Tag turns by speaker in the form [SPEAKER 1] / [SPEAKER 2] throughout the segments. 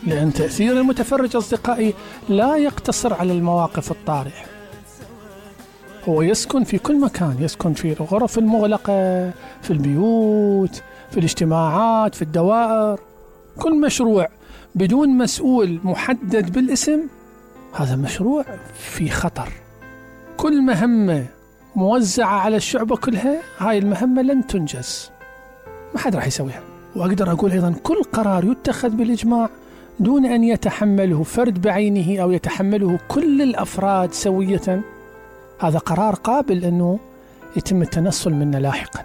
[SPEAKER 1] لأن تأثير المتفرج أصدقائي لا يقتصر على المواقف الطارئة، هو يسكن في كل مكان، يسكن في الغرف المغلقة، في البيوت، في الاجتماعات، في الدوائر. كل مشروع بدون مسؤول محدد بالاسم هذا مشروع في خطر. كل مهمة موزعة على الشعوب كلها هاي المهمة لن تنجز، ما حد راح يسويها. وأقدر أقول أيضا كل قرار يتخذ بالإجماع دون أن يتحمله فرد بعينه أو يتحمله كل الأفراد سوية، هذا قرار قابل أنه يتم التنصل منه لاحقا.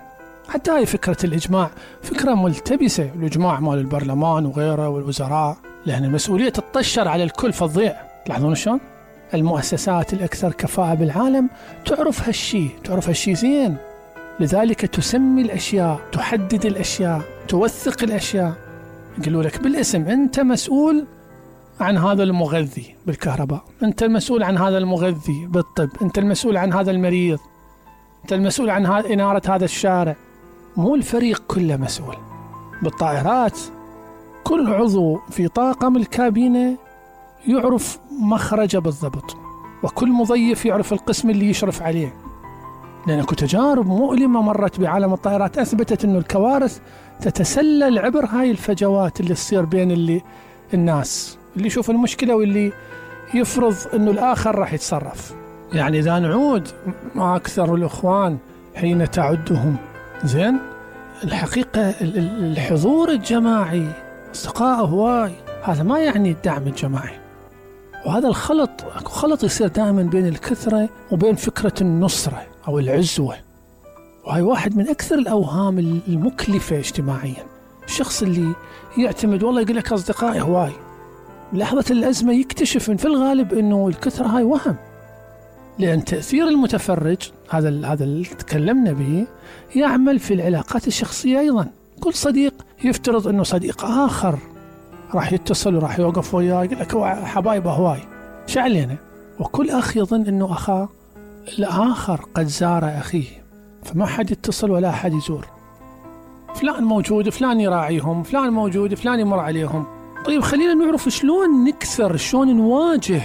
[SPEAKER 1] حتى هاي فكرة الإجماع فكرة ملتبسة، الإجماع مال البرلمان وغيره والوزراء، لأن المسؤولية تطشر على الكل فتضيع. تلاحظون شلون؟ المؤسسات الأكثر كفاءة بالعالم تعرف هالشي زين، لذلك تسمي الأشياء، تحدد الأشياء، توثق الأشياء. يقولوا لك بالاسم أنت مسؤول عن هذا المغذي بالكهرباء، أنت المسؤول عن هذا المغذي بالطب، أنت المسؤول عن هذا المريض، أنت المسؤول عن إنارة هذا الشارع. مو الفريق كله مسؤول. بالطائرات كل عضو في طاقم الكابينة يعرف مخرجه بالضبط، وكل مضيف يعرف القسم اللي يشرف عليه، لأن اكو تجارب مؤلمة مرت بعالم الطائرات أثبتت أنه الكوارث تتسلل عبر هاي الفجوات اللي تصير بين الناس، اللي يشوف المشكلة واللي يفرض أنه الآخر راح يتصرف. يعني إذا نعود ما أكثر الإخوان حين تعدهم زين، الحقيقة الحضور الجماعي أصدقاء هواي، هذا ما يعني الدعم الجماعي. وهذا الخلط يصير دائما بين الكثرة وبين فكرة النصرة أو العزوة، وهي واحد من أكثر الأوهام المكلفة اجتماعيا. الشخص اللي يعتمد والله يقول لك أصدقائي هواي، لحظة الأزمة يكتشف في الغالب أنه الكثرة هاي وهم، لأن تأثير المتفرج هذا اللي تكلمنا به يعمل في العلاقات الشخصية أيضا. كل صديق يفترض أنه صديق آخر راح يتصل وراح يوقف وياه، يقول لك حبايبه هواي شعلينا، وكل أخ يظن أنه أخاه الآخر قد زار أخيه، فما حد يتصل ولا حد يزور. فلان موجود، فلان يراعيهم، فلان موجود، فلان يمر عليهم. طيب خلينا نعرف شلون نكسر، شلون نواجه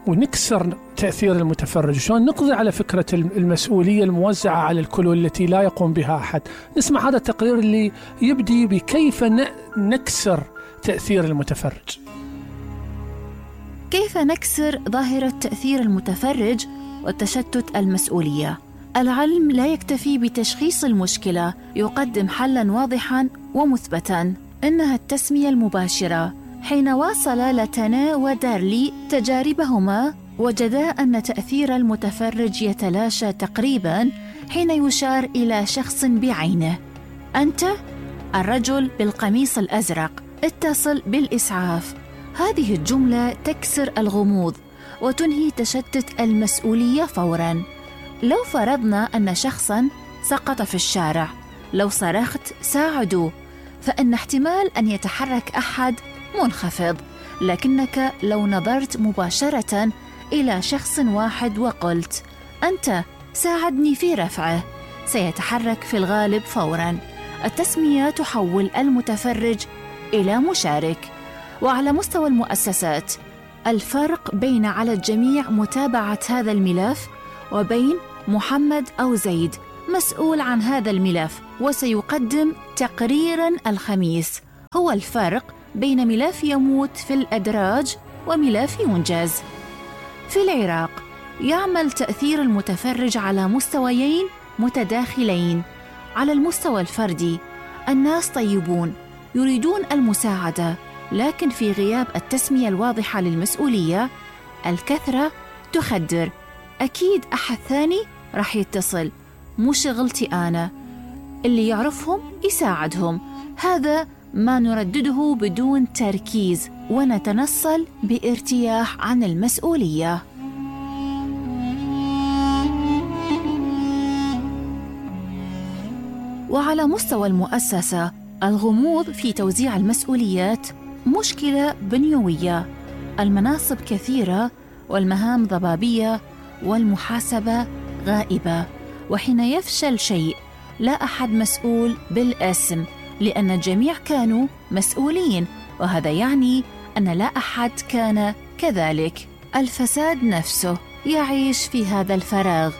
[SPEAKER 1] ونكسر تأثير المتفرج، شلون نقضي على فكرة المسؤولية الموزعة على الكل والتي لا يقوم بها أحد. نسمع هذا التقرير اللي يبدي بكيف نكسر تأثير المتفرج.
[SPEAKER 2] كيف نكسر ظاهرة تأثير المتفرج وتشتت المسؤولية؟ العلم لا يكتفي بتشخيص المشكلة، يقدم حلاً واضحاً ومثبتاً، إنها التسمية المباشرة. حين واصل لاتانا ودارلي تجاربهما، وجدا أن تأثير المتفرج يتلاشى تقريباً حين يشار إلى شخص بعينه: أنت الرجل بالقميص الأزرق، اتصل بالإسعاف. هذه الجملة تكسر الغموض وتنهي تشتت المسؤولية فوراً. لو فرضنا أن شخصاً سقط في الشارع، لو صرخت ساعدوا، فإن احتمال أن يتحرك أحد منخفض، لكنك لو نظرت مباشرة إلى شخص واحد وقلت أنت ساعدني في رفعه، سيتحرك في الغالب فوراً. التسمية تحول المتفرج إلى مشارك. وعلى مستوى المؤسسات، الفرق بين على الجميع متابعة هذا الملف وبين محمد أو زيد مسؤول عن هذا الملف وسيقدم تقريراً الخميس، هو الفرق بين ملف يموت في الأدراج وملف ينجز. في العراق يعمل تأثير المتفرج على مستويين متداخلين. على المستوى الفردي، الناس طيبون يريدون المساعدة، لكن في غياب التسمية الواضحة للمسؤولية، الكثرة تخدر، أكيد أحد ثاني راح يتصل، مو شغلتي أنا، اللي يعرفهم يساعدهم. هذا ما نردده بدون تركيز، ونتنصل بارتياح عن المسؤولية. وعلى مستوى المؤسسة، الغموض في توزيع المسؤوليات مشكلة بنيوية. المناصب كثيرة والمهام ضبابية والمحاسبة غائبة، وحين يفشل شيء لا أحد مسؤول بالاسم، لأن الجميع كانوا مسؤولين، وهذا يعني أن لا أحد كان كذلك. الفساد نفسه يعيش في هذا الفراغ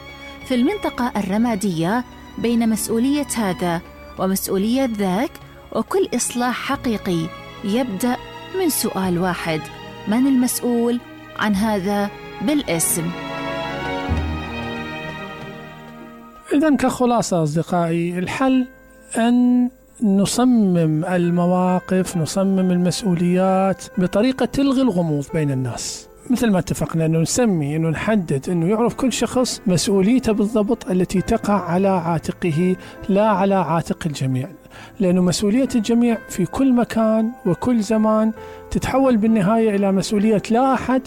[SPEAKER 2] في المنطقة الرمادية بين مسؤولية هذا ومسؤولية ذاك، وكل إصلاح حقيقي يبدأ من سؤال واحد: من المسؤول عن هذا بالاسم؟
[SPEAKER 1] إذن كخلاصة أصدقائي، الحل أن نصمم المواقف، نصمم المسؤوليات بطريقة تلغي الغموض بين الناس، مثل ما اتفقنا أنه نسمي، أنه نحدد، أنه يعرف كل شخص مسؤوليته بالضبط التي تقع على عاتقه لا على عاتق الجميع، لأنه مسؤولية الجميع في كل مكان وكل زمان تتحول بالنهاية إلى مسؤولية لا أحد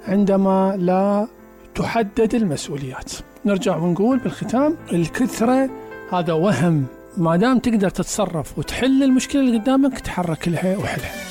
[SPEAKER 1] عندما لا تحدد المسؤوليات. نرجع ونقول بالختام، الكثرة هذا وهم، ما دام تقدر تتصرف وتحل المشكلة اللي قدامك تحرك لها وحلها.